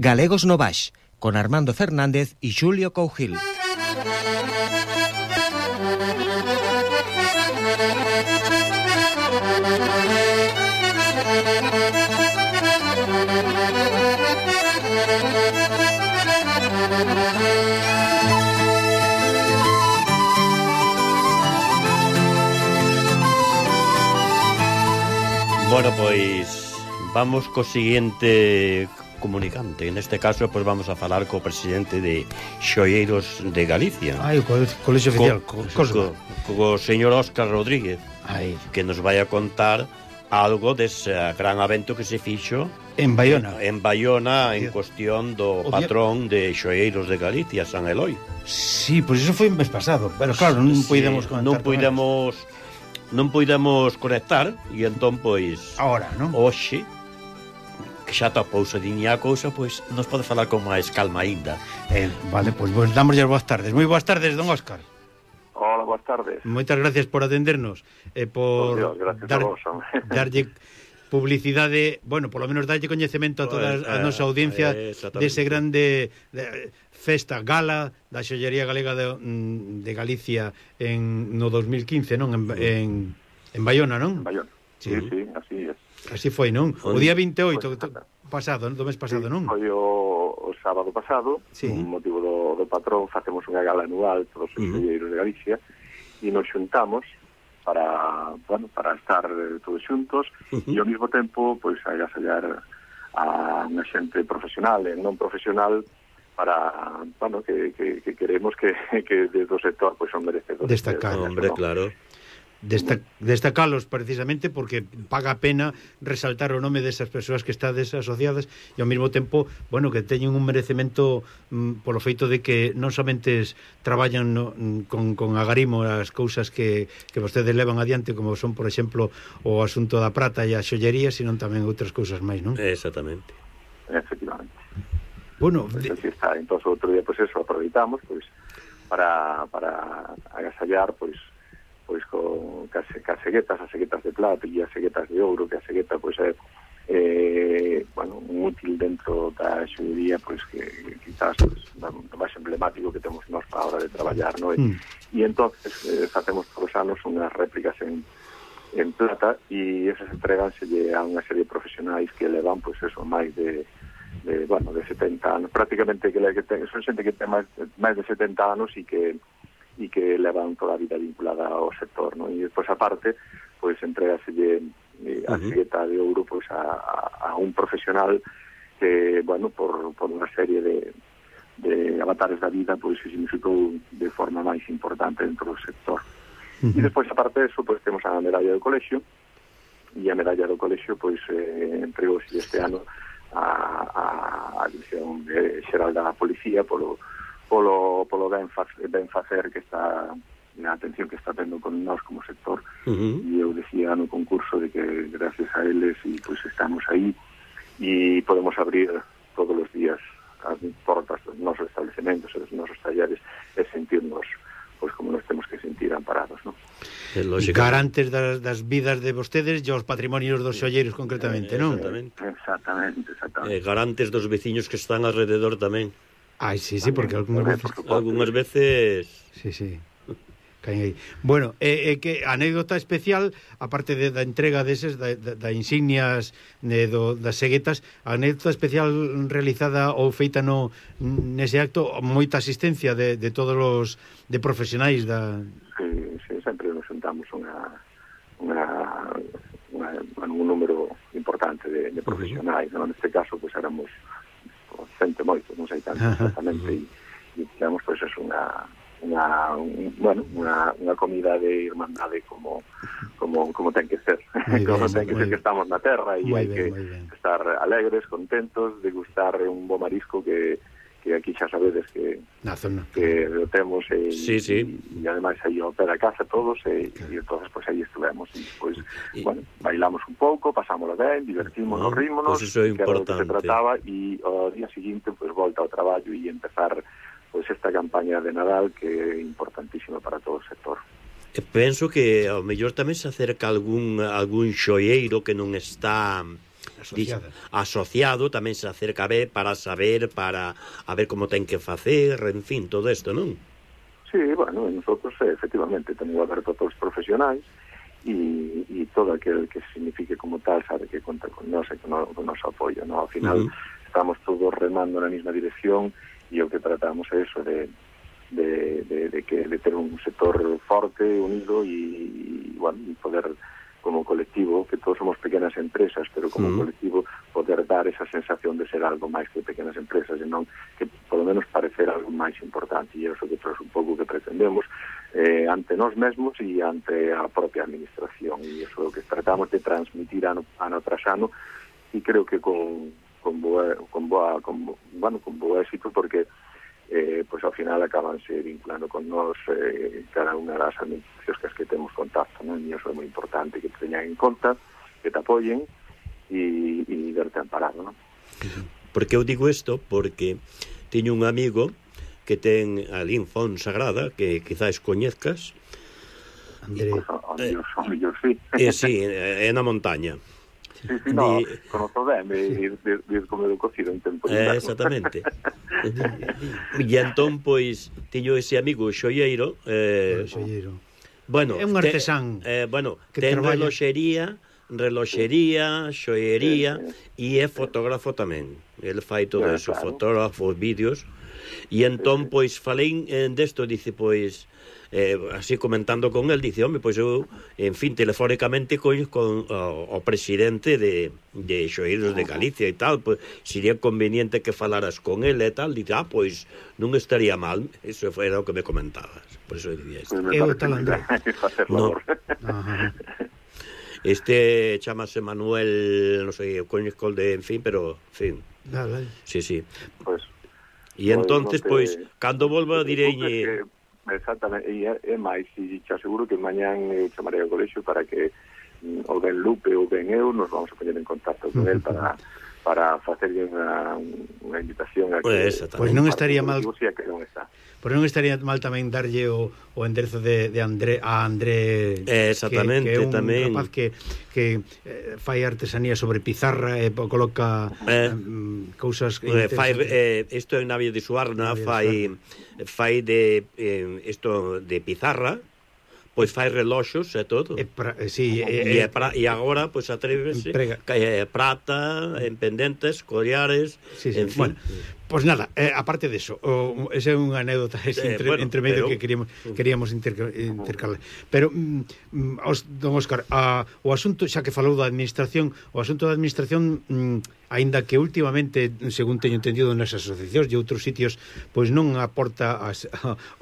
Galegos no Baix, con Armando Fernández y Xulio Cougil. Bueno, pois vamos co seguinte comunicante. En este caso, pois vamos a falar co presidente de Xoieiros de Galicia. O colexio oficial, co señor Óscar Rodríguez, que nos vai a contar algo dese gran evento que se fixo en Baiona. En cuestión do patrón de Xoieiros de Galicia, San Eloi. Sí, pois iso foi un mes pasado, pero claro, non podemos conectar. Non puidemos conectar e entón, pois, ahora, non? Hoxe, que xa tapouse diña a cousa, pois nos pode falar con máis calma ainda. Vale, pois damos as boas tardes. Moi boas tardes, don Óscar. Hola, boas tardes. Moitas gracias por atendernos e por darlle publicidade, bueno, polo menos darlle coñecemento a toda a nosa audiencia dese grande festa gala da xollería galega de Galicia no 2015, non? En Baiona, non? En Baiona, sí, así é. Así foi, non? O día 28 pasado, do mes pasado, non? Foi o sábado pasado, con motivo do patrón, facemos unha gala anual todos os xolleiros de Galicia e nos xuntamos para estar todos xuntos e ao mesmo tempo pois agasallar a unha xente profesional e non profesional para, que queremos que desde o sector pois son merecedores. Destacar, hombre, claro. Destacalos precisamente porque paga a pena resaltar o nome desas persoas que estades asociadas e ao mesmo tempo, bueno, que teñen un merecemento polo feito de que non somente traballan con agarimo as cousas que vostedes levan adiante, como son, por exemplo, o asunto da prata e a xollería, sino tamén outras cousas máis, non? Exactamente. Efectivamente. Bueno, entón outro día, pois eso, aproveitamos pois para agasallar pois con as ceguetas de plata e as ceguetas de ouro, que a cegueta pois é un útil dentro da xollería pois que quizás o máis emblemático que temos nós para a hora de traballar, non? E entonces facemos todos os anos unhas réplicas en plata e esas entreganselle a unha serie de profesionais que levan pois eso máis de 70 anos, prácticamente que son xente que ten máis de 70 anos e que levan toda a vida vinculada ao sector, non? E despois aparte, pois entregaselle a cegueta de ouro pois a un profesional que, por unha serie de avatares da vida, pois se significou de forma máis importante dentro do sector. E despois aparte eso, pois temos a medalla do colexio, e a medalla do colexio pois entregouse este ano a Dirección Xeral da Policía polo ben facer que está na atención que está tendo con nós como sector. E eu decía no concurso de que gracias a eles e pois estamos aí e podemos abrir todos os días as portas dos nosos establecementos e dos nosos talleres e sentirnos pois como nos temos que sentir amparados, non? Garantes das vidas de vostedes e os patrimonios dos xolleiros concretamente, non? Exactamente. Garantes dos veciños que están alrededor tamén. Sí, porque algunhas veces... Sí. Caen aí. Bueno, que anécdota especial, aparte da entrega deses, da insignias das ceguetas, a anécdota especial realizada ou feita nese acto, moita asistencia de todos os de profesionais da... Sí, sempre nos juntamos un número importante de profesionais, non? Neste caso, pois éramos xente moito, non sei tanto exactamente, e tivemos pois eso unha comida de irmandade como ten que ser, que estamos na terra e hai que estar alegres, contentos, degustar un bo marisco que aquí xa sabedes que lo temos e ademais aí ao pé da casa todos e entonces pois aí estuvemos e pois, bailamos un pouco, pasámoslo ben, divertimos, rímonos, que era o que se trataba e ao día seguinte pois volta ao traballo e empezar pois esta campaña de Nadal que é importantísima para todo o sector. Penso que ao mellor tamén se acerca algún xoieiro que non está asociado tamén se acerca a ver para saber, para a ver como ten que facer, en fin, todo isto, non? Sí, bueno, nosotros efectivamente tenemos aberto a todos os profesionais e todo aquel que signifique como tal sabe que conta con nós e con o noso apoio, ¿no? Ao final estamos todos remando na mesma dirección e o que tratamos é eso de ter un sector forte, unido e bueno, poder como colectivo, que todos somos pequenas empresas, pero como colectivo poder dar esa sensación de ser algo máis que pequenas empresas e non que polo menos parecer algo máis importante, e iso que é un pouco que pretendemos ante nós mesmos e ante a propia administración, e iso é o que tratamos de transmitir ano tras ano, e creo que con bo éxito, porque pois ao final acabanse vinculando con nós cada unha das administracións que temos contacto, non? E iso é moi importante, que te teñan en conta, que te apoyen e verte amparado, non? Porque eu digo isto porque teño un amigo que ten ali en Fonsagrada, que quizás coñezcas, André. Sí. Sí, é na montaña. Sí, no, conozco ben, vir comer o cocido en tempo de inverno. Exactamente. E entón, pois, teño ese amigo xoieiro, bueno, é un artesán, bueno, que ten traballa... reloxería, xoiería, e é fotógrafo tamén. El fai todo eso, claro. Fotógrafos, vídeos, e entón, pois, falei desto, dice, pois, así comentando con el, dice, home, pois eu, en fin, telefónicamente con o presidente de Xoeiros de Galicia e tal, pois, sería conveniente que falaras con el e tal, dice, pois, non estaría mal, eso era o que me comentabas, por eso dicía isto. Eu tal André. No. Este chamase Manuel, non sei, o coñezco de, en fin, pero, en fin. Vale. Sí. Pues, e entonces, pois, cando volva direi... Exactamente, e máis, e te aseguro que mañán chamarei ao colexio para que o ben Lupe ou ben eu nos vamos a poñer en contacto con el para facerlle unha invitación a que... Pois non estaría mal... Que non está. Pois non estaría mal tamén darlle o enderezo de André a André, exactamente, que é un tamén rapaz que fai artesanía sobre pizarra e coloca cousas isto é Navia de Suarna, fai de isto de pizarra, pois fai reloxos e todo. E agora pois atrévese prata, en pendentes, collares, en fin. Bueno, pois nada, aparte de eso, esa é unha anécdota entre medio que queríamos intercalar. Pero, don Óscar, o asunto, xa que falou da administración, o asunto da administración, aínda que últimamente, según teño entendido nas asociacións e outros sitios, pois non aporta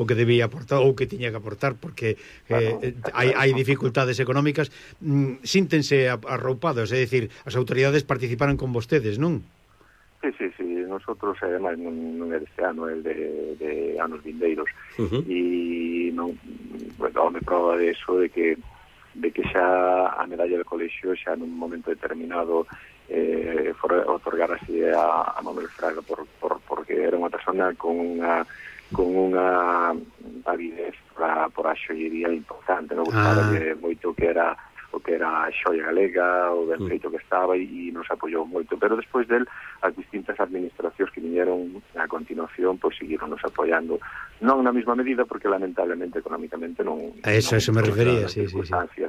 o que debía aportar ou que tiña que aportar, porque hai dificultades económicas, síntense arroupados, é dicir, as autoridades participaron con vostedes, non? Sí, nosotros, además, non é deste ano, é de anos vindeiros, e non, bueno, me prova de eso, de que xa a medalla do colexio xa nun momento determinado otorgar así a Manuel Fraga porque era unha persona con unha avidez por a xoiería importante, non gustaba moito que era a xoia galega, o ben feito que estaba, e nos apoiou moito, pero despois del as distintas administracións que viñeron a continuación pois seguiron nos apoiando, non na mesma medida porque lamentablemente económicamente non a eso me refería, sí.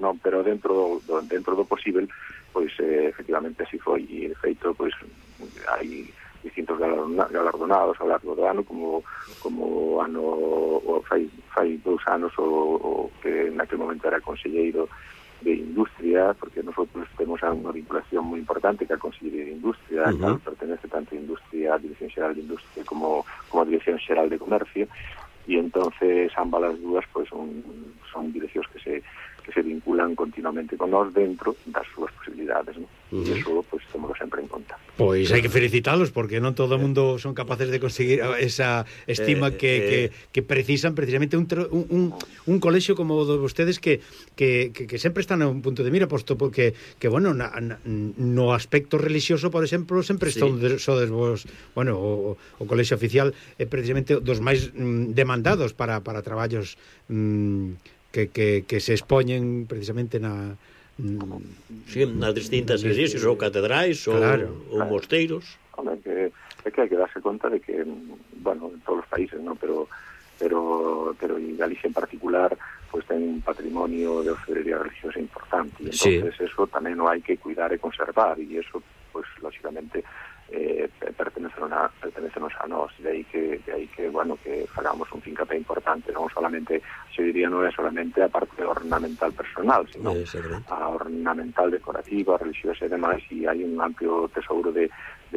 Non, pero dentro do posible pois efectivamente así foi, e de feito pois hai distintos galardonados ao largo do ano, como fai 2 anos o que naquele momento era conselleiro de Industria, porque nosotros temos unha vinculación moi importante que a Consellería de Industria, que pertenece tanto a Industria, a Dirección Xeral de Industria como a Dirección Xeral de Comercio, e entonces ambas as dúas pues, son direccións que se vinculan continuamente con nós dentro das súas posibilidades, ¿no? E iso pues, tomamos sempre en conta. Pois hai que felicitalos, porque non todo o mundo son capaces de conseguir esa estima que precisan precisamente un colexio como o de vostedes que sempre están a un punto de mira, posto porque bueno, no aspecto religioso, por exemplo, sempre sodes vos, bueno, o colexio oficial é precisamente dos máis demandados para traballos que se expoñen precisamente Sí, nas distintas iglesias ou catedrais ou mosteiros. Hombre, que hai que darse conta de que, bueno, en todos os países, ¿no? Pero en Galicia en particular pues ten un patrimonio de orfebrería religiosa importante, y entonces eso tamén non hai que cuidar e conservar, e eso pues lógicamente pertenecenos a nós, de aí que bueno, que fagamos un fincapé importante, non solamente, yo diría, non é solamente a parte ornamental personal, sino a ornamental decorativa, religiosa e demais, e hai un amplio tesouro de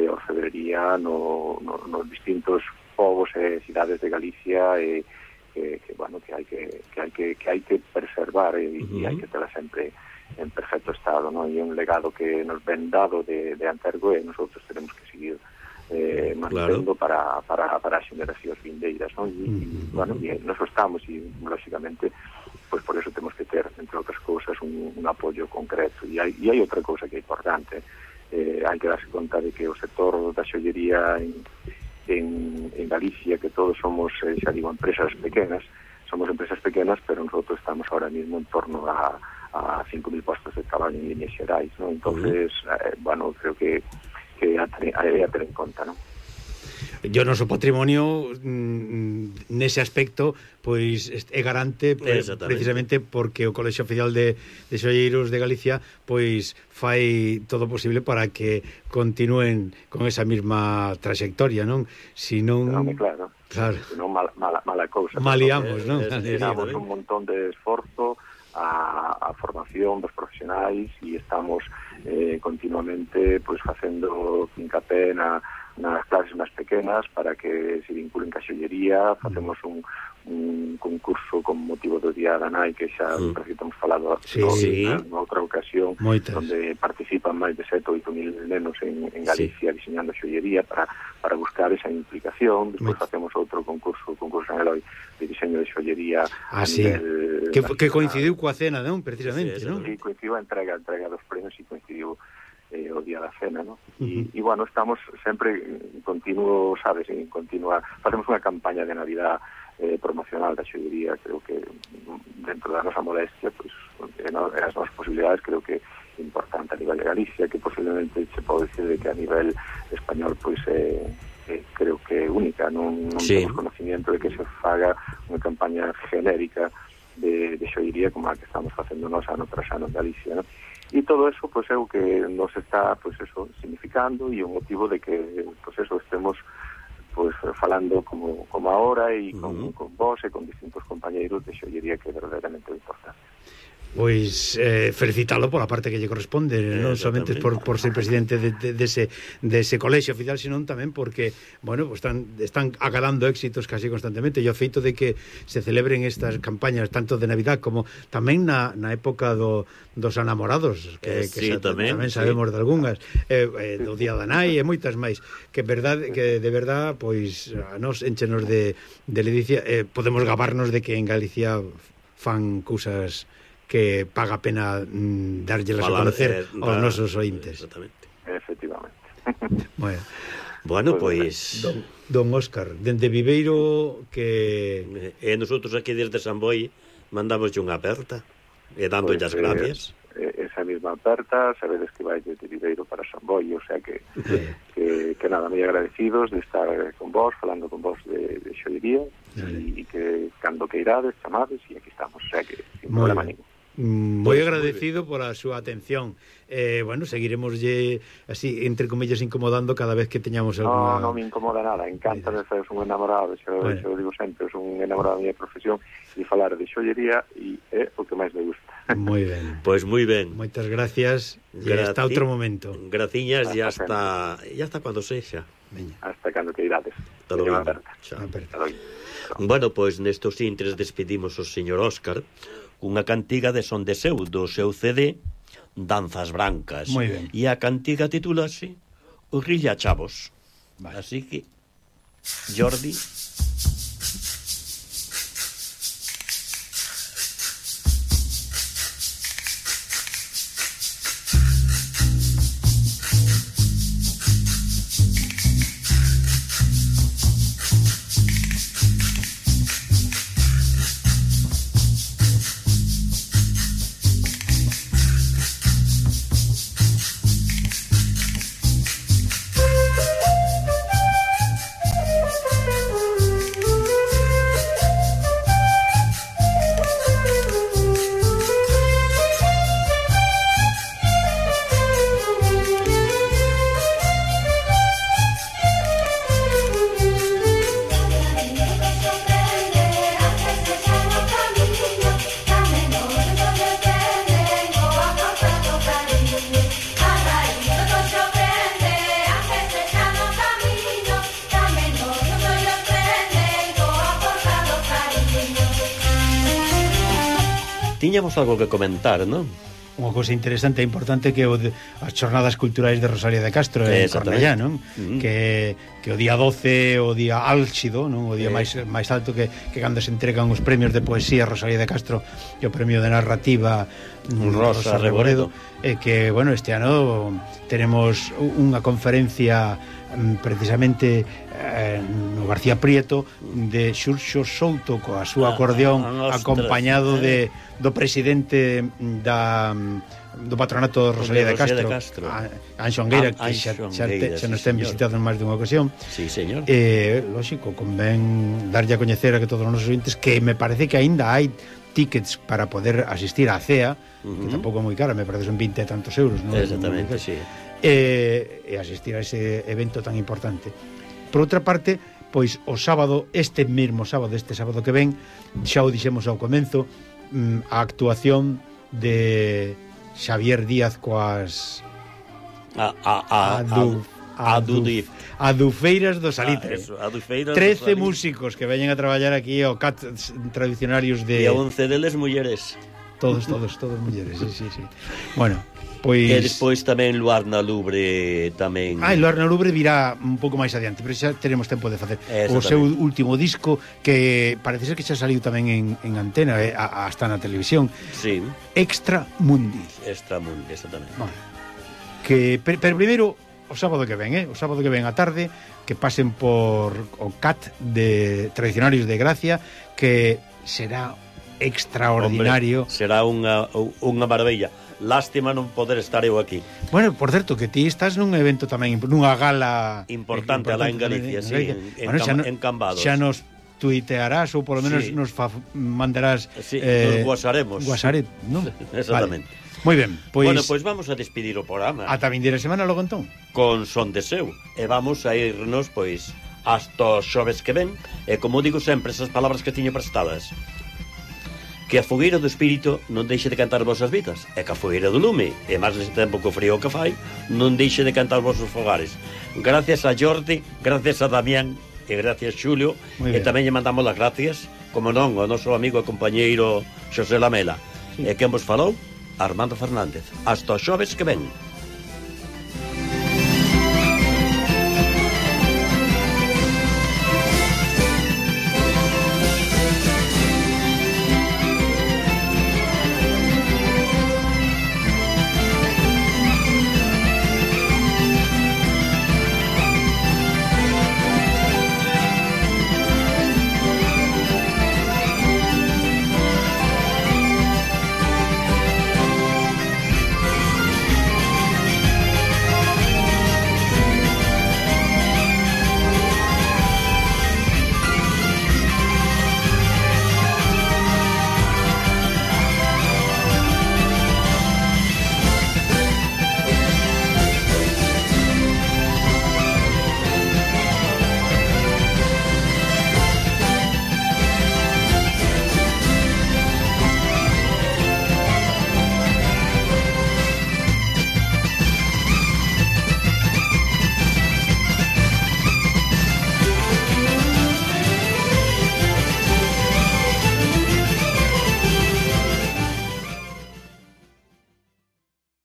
orfebrería nos distintos povos e cidades de Galicia, que bueno, que hai que preservar e hai que tela sempre en perfecto estado, ¿no? E un legado que nos ven dado de antergo, e nosotros tenemos que seguir mantendo para as xeneracións vindeiras, ¿no? E bueno, e nos estamos, e lógicamente pues por eso temos que ter, entre outras cousas, un apoio concreto. E hai outra cousa que é importante, hai que darse conta de que o sector da xollería en Galicia, que todos somos, xa digo, empresas pequenas, pero nosotros estamos ahora mismo en torno a 5.000 postos de traballo en líneas xerais, ¿no? Entonces, bueno, creo que hai a ter en conta, ¿no? O noso patrimonio nese aspecto pois é garante precisamente porque o Colexio Oficial de Xolleiros de Galicia pois fai todo o posible para que continúen con esa mesma trayectoria, non? Si non... Claro. Si non, mala cousa. Maliamos, non? Damos un montón de esforzo a formación dos profesionais, e estamos continuamente pois facendo fincapé nas clases máis pequenas para que se vinculen ca xollería. Facemos un concurso con motivo do Día da Nai, que xa estamos falado noutra ocasión, onde participan máis de 7 ou 8.000 nenos en Galicia diseñando xollería para buscar esa implicación. Despois facemos outro concurso en Eloi de diseño de xollería a nivel... Que coincidiu coa cena, non? Precisamente, non? Sí, coincidiu a entrega dos premios e coincidiu o día da cena, ¿no? E bueno, estamos sempre en continuo, sabes, facemos unha campaña de Navidad promocional da xollería. Creo que dentro da nosa modestia, pues, as nosas posibilidades, creo que é importante a nivel de Galicia, que posiblemente se pode decir de que a nivel español pues creo que é única, non temos conocimiento de que se faga unha campaña genérica de xollería como a que estamos facendo nós ano tras ano en Galicia, ¿no? E todo eso, pues, é o que nos está, pues, eso, significando, e o motivo de que, pues, eso, estemos, pues, falando como ahora, e con vos e con distintos compañeiros de xollería, que é verdadeiramente importante. Pois felicitalo pola parte que lle corresponde, non somente por ser presidente dese colexio oficial, senón tamén porque, bueno, pues están agalando éxitos casi constantemente, e o feito de que se celebren estas campañas tanto de Navidad como tamén na época dos enamorados, que tamén sabemos de algunhas, do Día da Nai e moitas máis, que de verdad pois a nos enchenos de ledicia, podemos gabarnos de que en Galicia fan cousas que paga pena darllelas a conocer aos nosos ointes. Exactamente. Efectivamente. Bueno, pois... Don Óscar, dende Viveiro que... E nosotros aquí desde San Boi mandamos unha aperta e dándolle as gracias. Esa mesma aperta, sabedes que vai desde Viveiro para San Boi, o sea que nada, moi agradecidos de estar con vos, falando con vos de xollería, e que cando que irades, chamades, e aquí estamos, o sea que sin problema ningún. Moi agradecido por a súa atención. Bueno, seguiremoslle así, entre comillas, incomodando cada vez que teñamos alguna... Non me incomoda nada, encanta de ser un enamorado, xo digo sempre, son un enamorado da minha profesión, e falar de xollería e é o que máis me gusta. Moi ben. Pois moi ben. Moitas gracias, e hasta outro momento. Graciñas, e hasta cando sexa. Hasta cando que irades. Hasta logo. Bueno, pois nestos intres despedimos o señor Óscar unha cantiga de Son de Seu, do seu CD Danzas Brancas. Moi ben. E a cantiga titulase O Rilla Chavos. Así que, Jordi... Tiñamos algo que comentar, non? Unha cousa interesante e importante que as xornadas culturais de Rosalía de Castro en Cornellá, non? Que o día 12 o día álxido, non? O día máis alto que cando se entregan os premios de poesía Rosalía de Castro e o premio de narrativa Rosa Reboredo, que, bueno, este ano tenemos unha conferencia precisamente no García Prieto de Xurxo Souto coa súa acordeón acompañado do presidente do patronato Rosalía de Castro, Anxo Angueira, que xa nos ten visitado en máis dunha ocasión. Sí, señor. Lógico, convén darlle a coñecer a que todos os nosos ouvintes que me parece que aínda hai tickets para poder asistir á CEA, que tampouco é moi cara, me parece son 20 e tantos euros, non? Exactamente, sí. E asistir a ese evento tan importante. Por outra parte, pois o sábado, este sábado que ven, xa o dixemos ao comezo, a actuación de Xavier Díaz coas Adufeiras do Salitre. 13 músicos que veñen a traballar aquí ao CAT tradicionarios de... E 11 deles mulleres. Todos mulleres, sí. Bueno, pois... E despois tamén Luar na Lubre tamén... Luar na Lubre virá un pouco máis adiante, pero xa teremos tempo de facer o seu último disco, que parece ser que xa saliu tamén en antena, hasta na televisión. Sí. Extra Mundi, exactamente. Bueno, que pero primeiro o sábado que ven, o sábado que ven a tarde, que pasen por o CAT de Tradicionarios de Gracia, que será extraordinario. Hombre, será unha maravilla. Lástima non poder estar eu aquí. Bueno, por certo, que ti estás nun evento tamén, nunha gala importante alá en Galicia, sí, en Cambados. Xa nos tuitearás ou polo menos nos mandarás nos guasaremos. ¿no? Exactamente. Vale. Moi ben, pois... Bueno, pois vamos a despedir o programa. Ata vindeira semana logo entón. Con Son de Seu. E vamos a irnos, pois, hasta os xoves que ven. E como digo sempre, esas palabras que tiño prestadas. Que a fogueira do espírito non deixe de cantar vosas vidas, e que a fogueira do lume, e máis nese tempo que o frío que fai, non deixe de cantar vosos fogares. Gracias a Jordi, gracias a Damián, e gracias Xulio, e tamén lle mandamos as gracias, como non, ao noso amigo e compañeiro Xosé Lamela. E quen vos falou? Armando Fernández. Hasta os xoves que ven.